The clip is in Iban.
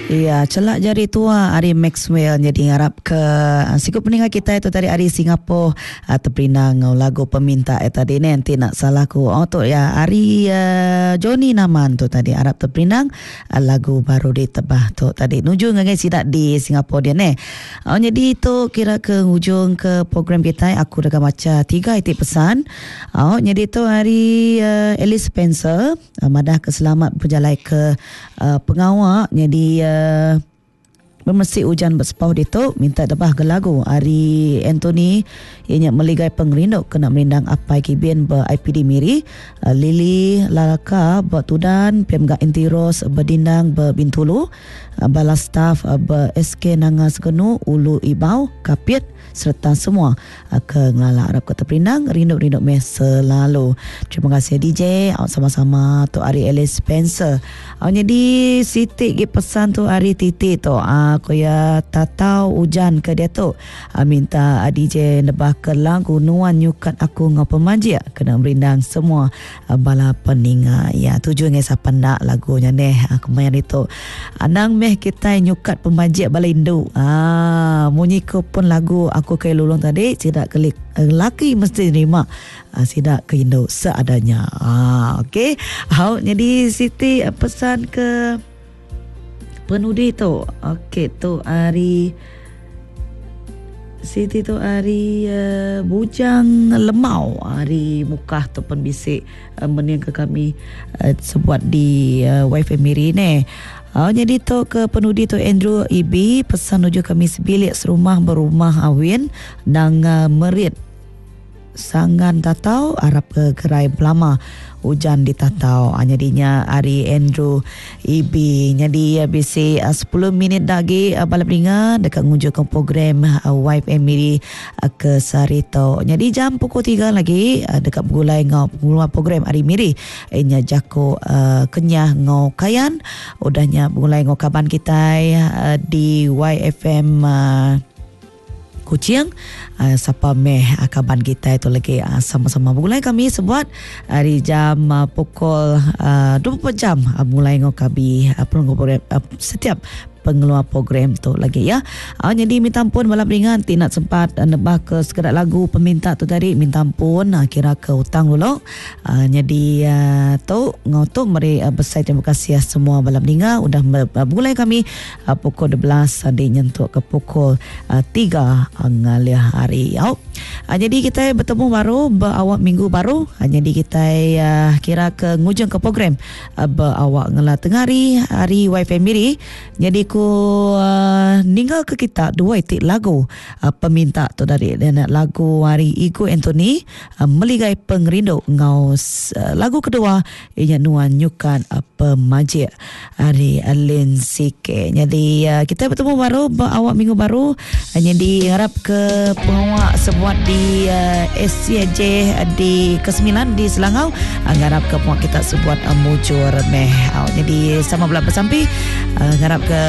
Iya, chelak jari tua ari Maxwell nyadi ngarap ke siku peninga kitai tu tadi ari Singapore teperindang enggau lagu peminta iya tadi neh enti enda salah ku oh tu iya ari Johnny Naman tu tadi arap teperindang lagu baru ditebah tu tadi nuju ngagai sida di Singapore dia neh. Oh nyadi tu kira ke ngujung ke program kitai aku deka macha tiga iti pesan. Oh nyadi tu ari Alice Spencer. Madah ke selamat bejalai ke pengawa nyadi bemesi ujan ba Sepau ditu minta debah ke lagu ari Anthony iya nya Meligai Pengerindu kena merindang Apai Kibin ba IPD Miri, Lily Lalaka ba Tudan pia mega Aunty Rose Bedindang ba Bintulu, bala staf ba SK Nanga Segenu Ulu Ibau, Kapit sereta semua Ke ngelala arap ke teperindang rindu rindu meh selalu. Terima kasih DJ au sama-sama tu ari Alice Spencer. Au nyadi siti gi pesan tu ari Titi tu ah ku iya tatau ujan ke diatu minta DJ nebah ke lagu nuan nyukat aku enggau pemajik kena merindang semua bala peninga iya. Tuju ngagai sapa enda lagu nya neh kemaya ditu. Anang meh kitai nyukat pemajik bala indu. Haa munyi ko pun lagu aku ke lulong tadi sida ke laki mesti nerima sida ke indu seadanya. Haa okey. Au nyadi siti pesan ke penudi tu. Okey tu ari Siti tu ari uh, Bujang Lemau ari Mukah tu pun bisi uh, mening ke kami uh, sebuat di uh, Wifi Miri ne. Uh, jadi tu ke penudi tu Andrew EB pesan nuju kami sebilik serumah berumah awin nang uh, merit Sangan tatau arap ke gerai belama ujan ditatau nyadi nya ari Andrew EB nyadi bisi 10 minit da agi bala peninga deka ngunjungka program YFM Miri ke sehari tu nyadi jam pukul 3 lagi deka begulai enggau pengeluar program ari Miri inya jaku Kenyah enggau Kayan udah nya begulai enggau kaban kitai di YFM Kuching, sapa meh kaban kitai tu lagi sama-sama begulai kami sebuat ari jam pukul 24 jam mulai enggau kabi setiap pengeluar program tu lagi ya. Nyadi minta ampun bala peringan ti nak sempat nebah ke sekeda lagu peminta tu tadi minta ampun kira ke utang dulu. Nyadi tu enggau tu meri besai terima kasih semua bala peninga udah begulai kami pukul 12 adi nyentuk ke pukul 3 ngalih hari. Au. Nyadi kitai betemu baru ba awak minggu baru. Nyadi kitai kira ke ngujung ke program ba awak ngela tengah hari hari YFM Miri. Nyadi ku ninggal ke kita dua iti lagu peminta tu tadi. Lagu ari Igu Anthony Meligai Pengerindu enggau lagu kedua iya nya Nuan Nyukat Pemajik ari Lin CK. Nyadi kitai betemu baru ba awak minggu baru. Nyadi ngarap ke pengawa sebuat di SCJ di ke-9 di Selangau ngarap ke pengawa kita sebuat mujur meh. Nyadi sama bela besampi ngarap ke.